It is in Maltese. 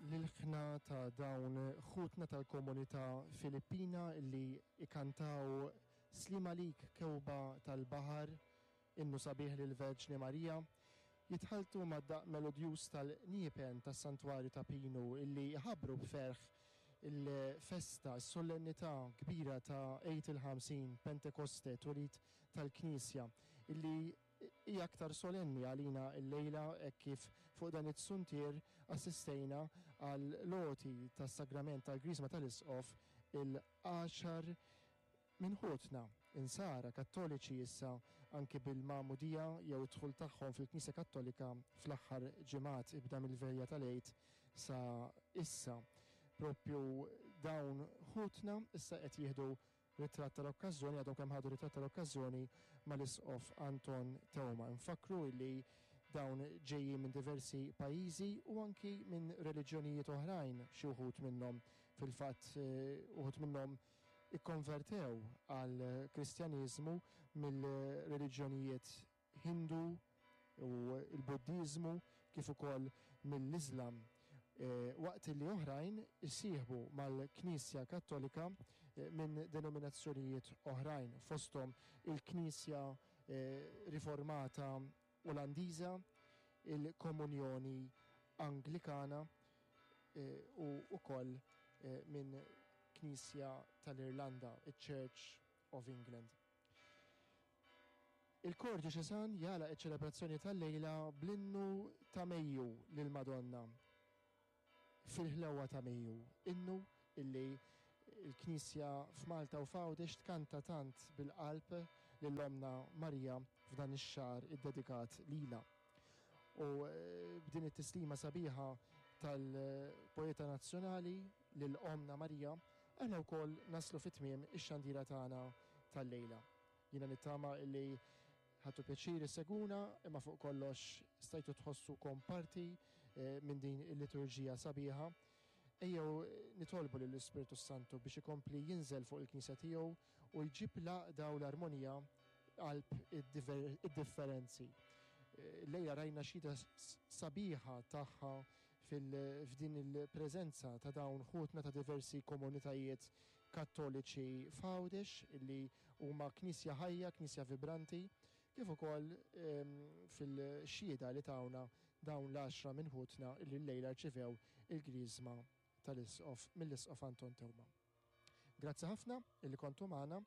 L-ilħna ta' dawn ħutna tal-komunità Filippina li ikantaw Sliem għalik kewba tal-baħar, innu sabiħ lill-Verġni Marija, jitħalltu mad-daqq melodjuż tal-qniepen tas-Santwarju ta' Pinu illi jħabbru b'ferħ il-festa, is-sollennità kbira ta' Għid il-Ħamsin, Pentekoste, twelid tal-Knisja, illi hija aktar solenni għalina llejla hekk kif fuq dan it-suntier assistejna għall-għoti tas-Sagrament tal-Griżma tal-Isqof il-għaxar minn ħutna Insara Kattoliċi issa anki bil-Magħmudija jew id-dħul tagħhom fil-Knisja Kattolika fl-aħħar ġimgħat ibda mill-Velja tal-Għid sa issa. Propju dawn ħutna issa qed jieħdu Ritratt tal-okkażjoni, Għadhom kemm ħadu ritratt tal-okkażjoni mal-Isqof Anton Teuma. Infakkru li dawn ġejjin minn diversi pajjiżi u anki minn reliġjonijiet oħrajn, xi wħud minnhom. Fil-fatt, uħud minnhom ikkonvertew għall-Kristjaneżmu mill-reliġjonijiet Hindu u l-Buddiżmu kif ukoll mill-Iżlam, waqt li oħrajn issieħbu mal-Knisja Kattolika minn denominazzjonijiet oħrajn, fosthom il-Knisja Riformata Olandiża, il-Komunjoni Anglikana u wkoll minn Knisja tal-Irlanda, iċ-Church of England. Il-Kor Djoċesan jagħlaq iċ-ċelebrazzjoni tal-lejla bl-innu ta' Mejju lill-Madonna fil-ħlewwa ta' Mejju, innu illi l-Knisja f'Malta u f'Għawdex tkanta tant bil-qalb lil Ommna Marija f'dan ix-xahar iddedikat lilha. U b'din it-tislima sabiħa tal-poeta nazzjonali lil Ommna Marija, aħna wkoll naslu fi tmiem ix-xandira tagħna tal-lejla. Jiena nittama li ħadtu pjaċir issegwuna imma fuq kollox stajtu tħossukom parti minn din il-liturġija sabiħa. Ejjew nitolbu lill-Ispirtu s-Santu biex ikompli jinżel fuq il-Knisja tiegħu u jġib l-għaqda u l-armonija qalb id-differenzi. Illejla rajna xhieda sabiħa tagħha f'din il-preżenza ta' dawn ħutna ta' diversi komunitajiet Kattoliċi f'Għawdex li huma Knisja ħajja, Knisja vibranti, kif ukoll fil-xhieda li tawna dawn l-għaxra minn ħutna li llejla rċivew il-Griżma tal-Isqof mill-Isqof Anton Teuma. Grazzi ħafna illi kontu magħna.